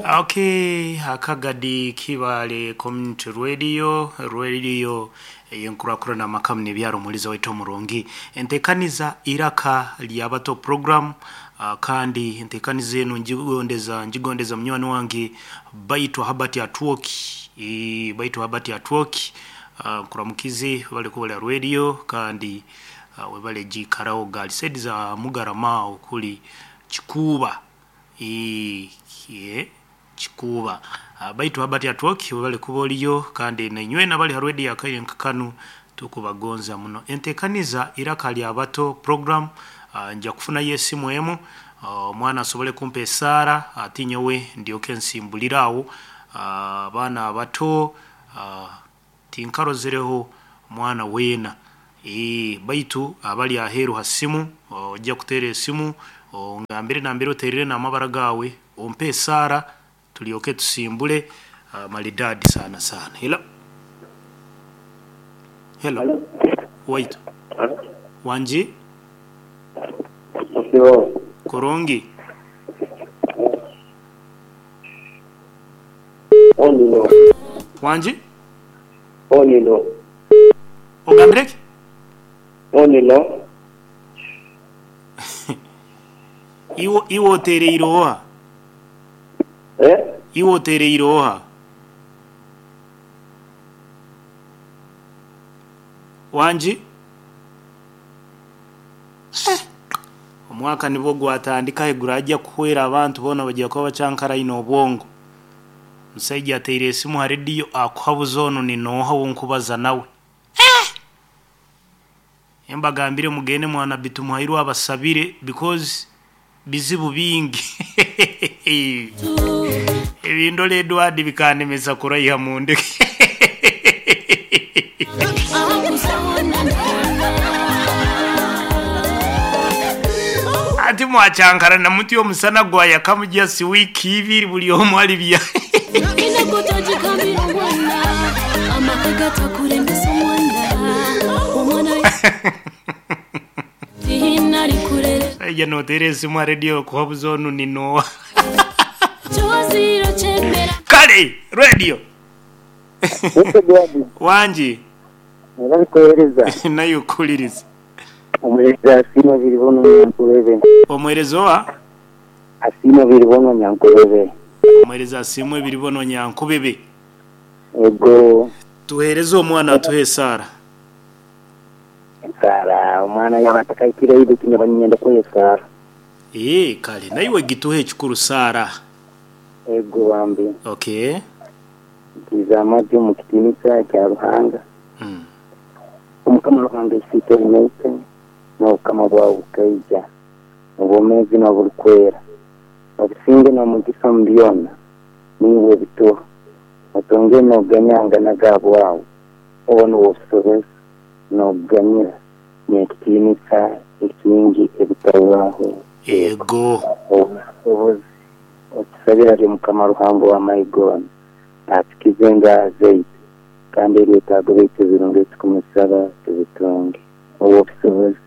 Okay, Akagadi Kibaale Community Radio, Radio ey'enkurakurana amaka n'ebyaro omuhuriza waitu omurungi. Enteekaniza Iraka ly'Abato program kandi enteekaniza enu ngigondeza ngigondeza munywani wange Baitwa Herbert Atwoki eeh Baitwa Herbert Atwoki nkuramukize webale kuba ori aha radio kandi webale giikaraho gaali saidi za Mugarama aho kuri Kikuuba. Eeh Kikuuba. Baitu Herbert Atwoki webale kuba oriyo kandi nainywena abari ha radio akaire nka kanu tukubagonza muno. Entekaniza Iraka lya Bato program nja kufunayo esimu emu omwana asobole kumpa esaara ati nyowe ndyoke nsimbulire awo. Abaana abato Tinkarozereho mwana weena. Eeh baitu abali aheeru ha simu, ojja kuteera esimu ongambire nambere oteerire n'amabara gaawe, ompe esaara tulyoke tusimbule maridadi sana sana. Hello. Hello. Waitu. Wangi? Kurungi. Wangi? Onino. Ogambire ki? Onino. Iwe iwe oteereire oha? Eh? Iwe oteereire oha? Wangi? Eh! Omwaka nibwo gwatandika ahi guraija kuhwera abantu boona baija kuba bakyankaraine obwongo. Omusaija ateire esimu ha rediyo akuhabuza onu ni nooha ou nkubaza nawe? Eh! Mbagambire mugende mwa Nabbi Tumuhairwe abasabire because bizibu bingi. Ebindora Edward bikandemesa kuraiha mundeke. Ati mwakyankarana muti omusana gwayakamu just wiiki ibiri buri omwe ari bya. Omushaija noteera esimu aha rediyo okuhabuza onu ni nooha? Kare rediyo! Wangi? Naye okuhuririza. Omuheereza asiimwe Biribonwa Nyankurebe. Omuheereza oha? Asiimwe Biribonwa Nyankubebe. Omuheereza asiimwe Biribonwa Nyankubebe. Ego. Tuheereze omwana atuhe esaara. Esaara, omwana yaaba atakahikire ahi beitu nyaba niinyenda kuha esaara. Eeh kare naiwe gituhe ekikuru saara. Ego bambi. Okay. Ntiize amaju omu kitiinisa kya Ruhanga. Omukama Ruhanga Isiitwe ori naitwe, n'obukama bwawe bukaija, obwomeezi n'oburikwera, obusinge n'omugisa omu byona, niiwe obituha. Otongere n'oganyangana aga bwawe, oba niwe obusobozi n'okuganyira n'ekitiinisa ekingi ebitahwaho. Ego. Obusobozi otusabire ahari Mukama Ruhanga ow'amahe goona, atukize endwara zaitu, Kandi ebyetaago byaitu ebirungi ebi turikumusaba tubitunge. Ow'obusobozi,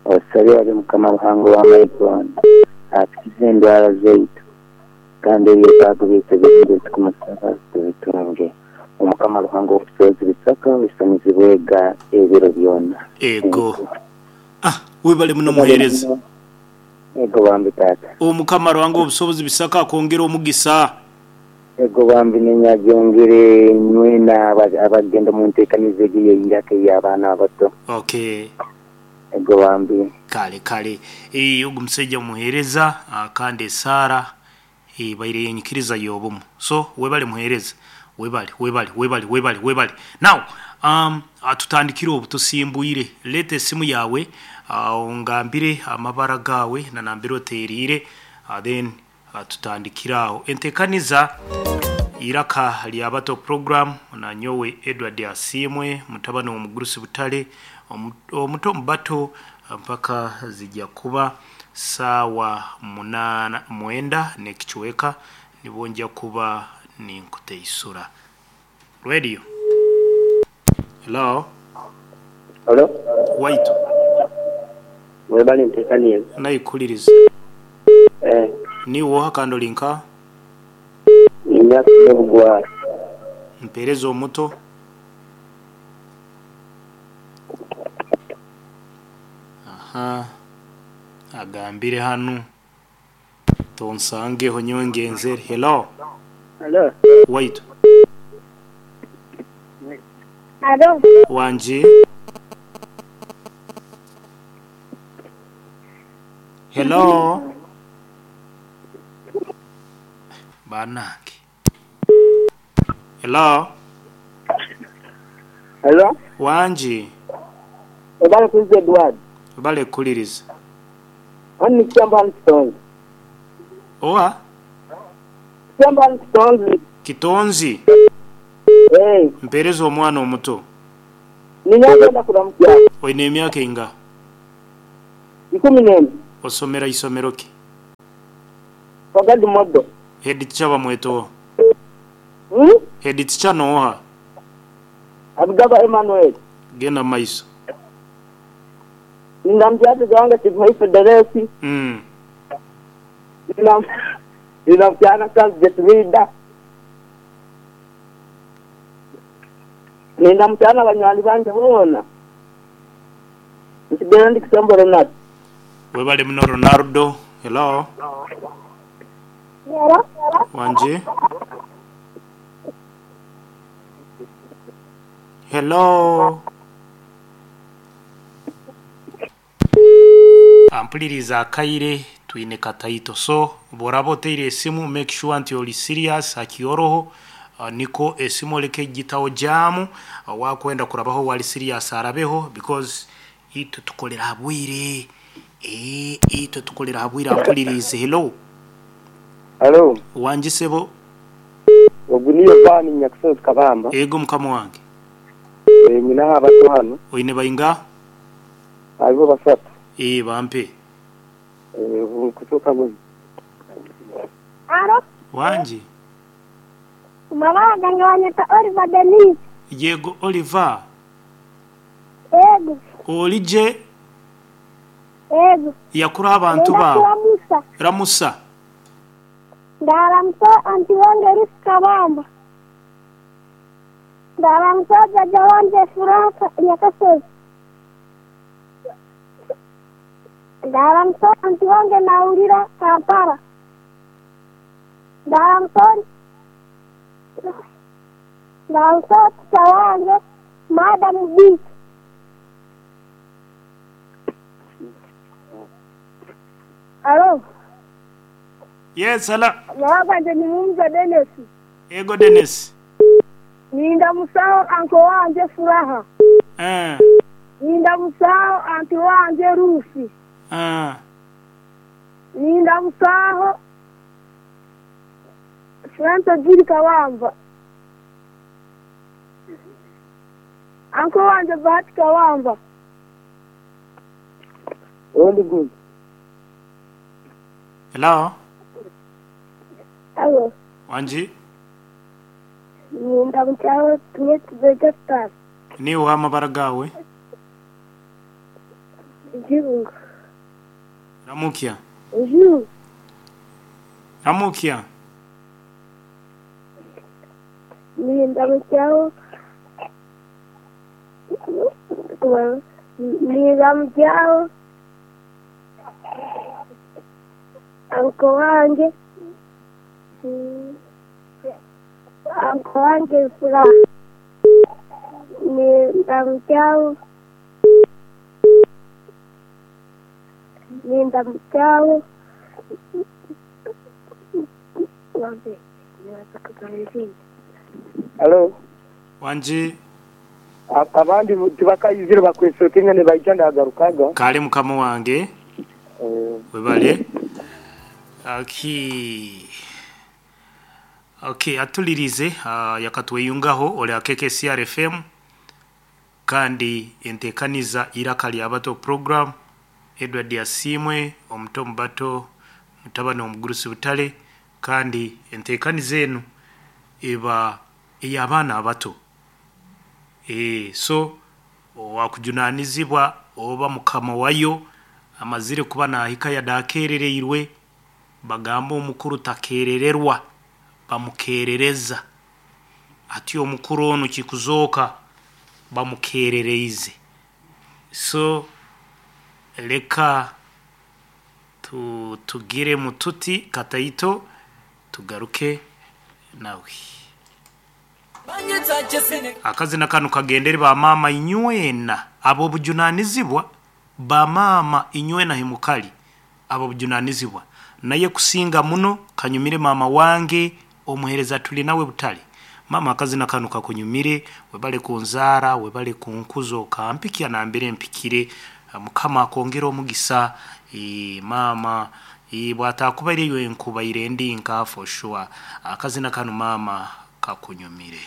otusabire ahari Mukama Ruhanga ow'amahe goona, atukize endwara zaitu, kandi ebyetaago byaitu ebirungi ebi turikumusaba tubitunge. Omukama Ruhanga ow'obusobozi bisaka oisanizibwega ebiro byona. Ego. Ah, webale muno muhereza. Ego bambi taata. Omukama Ruhanga ow'obusobozi bisaka akwongere omugisa. Ego bambi nenyagyongere nywena abagenda omu ntekaniza egyo ey'eiraka ey'abaana abato. Okay. Ego bambi. Kale kale. Eeh ogu musaija muhereza kandi esaara ebaire yenyikiriza y'obumu. So webale muhereza. Webale webale webale webale webale. Now um tutandikire obu tusimbwire. Leeta esimu yaawe ongambire amabara gaawe na nambere otereire then Tutandikire aho entekaniza Iraka lya Bato Program na nyowe Edward Asiimwe mutabani w'omugurusi Butale omuto omu bato mpaka zija kuba saawa munaana mwenda n'ekicweka nibwo nja kuba ninkuteisura. Radio. Hello. Hello. Waitu. Webale ntekaniize. Naikuhuririza. Eh. Niiwe oha kandi ori nkaha? Emyaka y'obugwara. Mpereza omuto. Aha, agambire hanu. Tonsangeho nyowe ngenzere. Hello. Hello. Waitu. Alo. Wangi. Hello. Banange. Hello. Hello. Wangi. Webale kuliza Edward. Webale kukuliriza. Hano ni Kityamba hano Kitonzi. Owa? Kityamba hano Kitonzi. Kitonzi? Eeh. Mpereza omwana omuto. Niinye ndenda kuramukya. Oine emyaka eingaha? Ikumi n'ena. Osomera isomero ki? Kagadi Model. Head teacher bamweta oha? Hmm? Head teacher n'oha? Abigaba Emmanuel. Genda mu maiso. Nindamukyase Gahanga Kiguhaife Deresi. Nindamukyana Charles Jetwida. Nindamukyana banywani bange boona. Nsigaire ndi Kisembo Ronald. Webale muno Ronaldo. Hello. Hello. Wangi. Hello. Ampuliriza akaire twine kataito so bworaba oteire esimu make sure nti ori serious hakioroho nikwo esimu oreke kugitaho jaamu owakwenda kurabaho wari serious arabeho because itwe tukorera aha bwire eeh itwe tukorera aha bwire ampuliriize hello. Halo. Wangi sebo. Ogu ni Yovaani Nyakusozi Kabamba. Eego mukama wange. Nyine aho abato hanu. Oine baingaha? Hariho basatu. Ee bampe. Kutuuka ngu. Alo. Wangi. Mama gange banyeta Oliver Denise. Yego Oliver. Yego. Oli gye? Yego. Yakura abantu Nenda baawe. kuramusa. Ramusa. Ndaramusa anti wange Ruth Kabamba. Ndaramusa jaja wange Frank Nyakasozi. Ndaramusa anti wange Naurira Kampala. Ndaramusa Ndaramusa teacher wange Madam B. Alo. Yes, hala. Amaka gangye ni Mumza Denis. Yego Denis. Nindamusaho anko wangye Furaha. Eh. Nindamusaho anti wangye Ruth. Eh. Nindamusaho Franco Jiri Kawamba. Anko wangye Bahati Kawamba. Ondi good. Hello. Alo. Wangi. Nindamusaho Tumwesize Justus. Niiwe oha amabara gaawe? Juru. Ramukya. Juru. Ramukya. Nindamusaho Nindamusaho anko wange anko wange Furaha. Nindamusaho Nindamusaho Halo. Wangi. Abandi tibakaizire bakwesokinga nibaija ndagarukaga. Kare mukama wange. Webale. Okay. Okay, atulirize uh, yakatweyungaho ori KKCR FM kandi entekaniza iraka lya bato program Edward Asiimwe omuto omu bato mutabani omugurusi butare kandi entekaniza enu eba ey'abaana abato. Eeh so owakujunanizibwa oba mukama wayo amazire kuba nahika yada akerereirwe bagamba omukuru takerererwa Bamukerereza. Ati omukuru onu kikuzooka bamukerereize. So leka tu, tugire mututi kataito tugaruke nawe. Akazina kanu kagendere ba maama inywena ab'obujunanizibwa, ba maama inywena himukali ab'obujunanizibwa. Naye kusinga muno kanyumire maama wange omuhereza tuli nawe butale. Maama akazina kanu kakunyumire, webale kunzaara, webale kunkuza okampikya nambere mpikire. Mukama akwongere omugisa maama bwatakubaire iwe nkubaire ndi nka for sure. Akazina kanu maama kakunyumire.